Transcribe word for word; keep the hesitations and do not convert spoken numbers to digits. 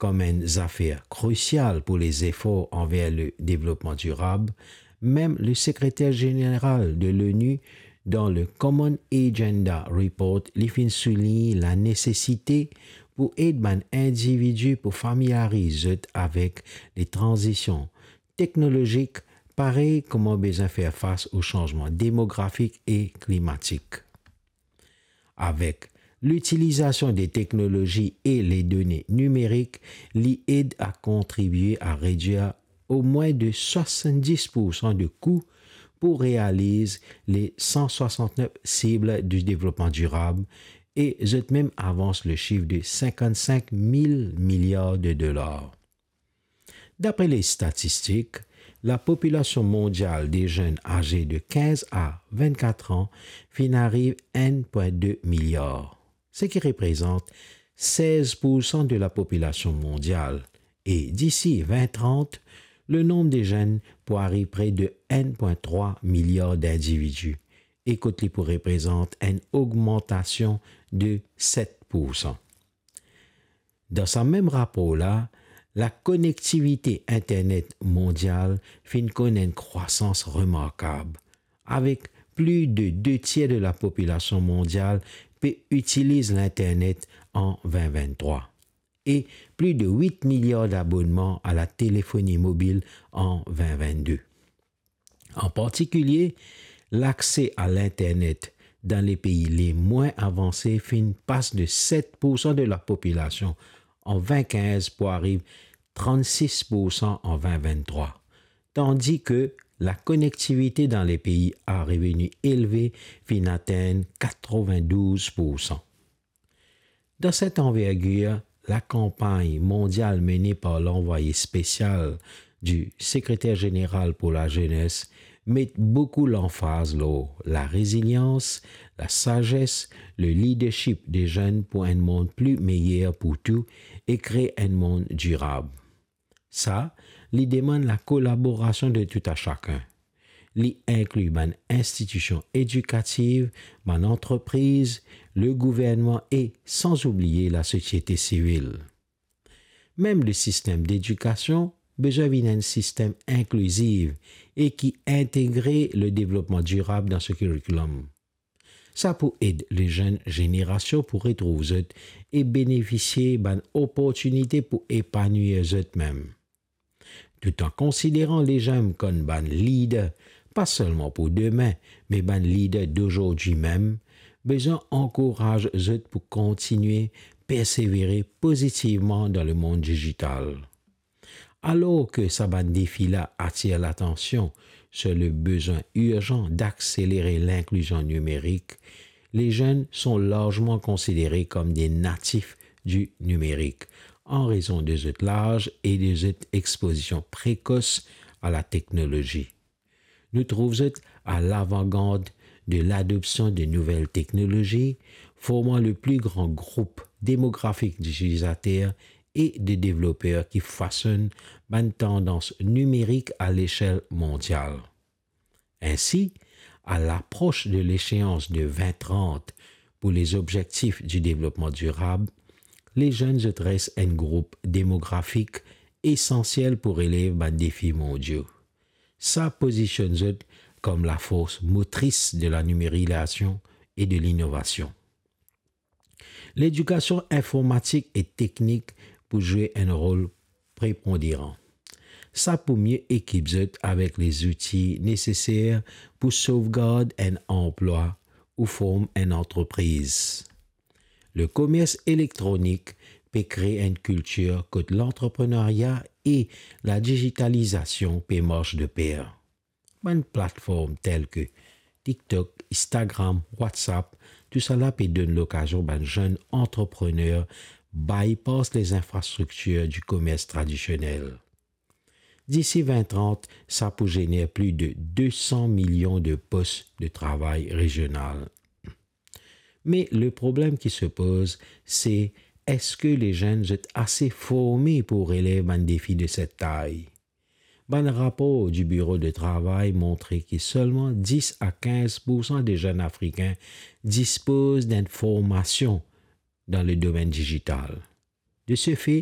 kom enn zafer krisial pou lezefor anver le devlopman dirab, mem le sekreter zeneral de l'ONU dan le Common Agenda Report, li finn soulign lanesesite pou ed bann individi pou familyariz zot avek le tranzision teknolozik, parey kouma bizin fer fas o sanzman demografik e klimatik. Avek litilizasion de teknolozi e le done nimerik, li ed a kontribie a redir omwin de swasanndis poursan de kou pou realiz le san swasantnef sib di devlopman dirab e zot mem avans le sif de sinkannsink mil miliar de dolar. Dapre le statistik, lapopilasion mondial de zenn aze de kinz a vennkat an finn ariv enn pwin de miliar, seki reprezant sez poursan de lapopilasion mondial, e disi vin trant, le nonb de zenn pou ariv pre de enn pwin trwa miliar dindividi, e kot li pou reprezant enn ogmantasion de set poursan. Dan sa mem rapor la, lakonektivite internet mondial finn konn enn krwasans remarkab, avek pli de de tier de lapopilasion mondial pe itiliz linternet an vin vinn trwa, e pli de wit miliar dabonnman a latelefoni mobil an vin vinn de. An partikilie, lakse a linternet dan lepei lemwin avanse finn pas de set poursan de lapopilasion an vin kinz pou ariv trannsis poursan an vin vinn trwa, tandi ke lakonektivite dan lepei a reveni elve finn atenn katrovin douz poursan. Dan set anvergir, lakanpagn mondial mene par lanvwaye spesial di Sekreter Zeneral pou Lazenes met boukou lanfaz lor larezilians, lasazes, le lidership de zenn pou enn mond pli meyer pou tou e kree enn mond dirab. Sa, li demann lakolaborasion de tou a sakenn. Li inkli bann institision edikativ, bann antrepriz, le gouvernman e, san oubliye, lasosiete sivil. Mem le sistem dedikasion bizin vinn enn sistem inkliziv e ki integre le devlopman dirab dan so kirikilom. Sa pou ed lezenn zenerasion pou retrouv zot e benefisie bann oportinite pou epanwir zot mem. Tout an konsideran lezenn kom bann lider, pa selman pou demin, me bann lider dozordi mem, bizin ankouraz zot pou kontinie persevere pozitivman dan lemond dizital. Alor ke sa bann defi la atir latansion sur le bizin irzan dakselere linklizion nimerik, lezenn son larzman konsidere kom de natif di nimerik, an rezon de zot laz e de zot expozision prekos a lateknolozi. Nou trouv zot a lavangard de ladopsion de nouvel teknolozi, forman le pli gran group demografik ditilizater e de devloper ki fasonn bann tandans nimerik a lesel mondial. Insi, a lapros de lesheans de vin trant pou lezobzektif di devlopman dirab, lezenn zot res enn group demografik esansiel pou relev bann defi mondio. Sa pozisionn zot kom lafors motris de lanimerizasion e de linovasion. Ledikasion informatik e teknik pou zwe enn rol preponderan. Sa pou mie ekip zot avek lezouti neseser pou sovgard enn anplwa ou form enn antrepriz. Lekomers elektronik pe kree enn kiltir kot lantreprenerya e ladizitalizasion pe mars de per. Bann platform tel ke TikTok, Instagram, WhatsApp, tousala pe donn lokazion bann zenn antreprener bypass lezinfrastriktir di komers tradisionel. Disi vin trant, sa pou zener pli de de san milion de pos de travay rezional. Me leproblem ki se poz, se eski lezenn zot ase forme pou relev bann defi de set tay? Bann rapor di Biro de Travay montre ki selman dis a kinz poursan de zenn Afrikin dispoz d'enn formasion dan ledomenn dizital. De se fe,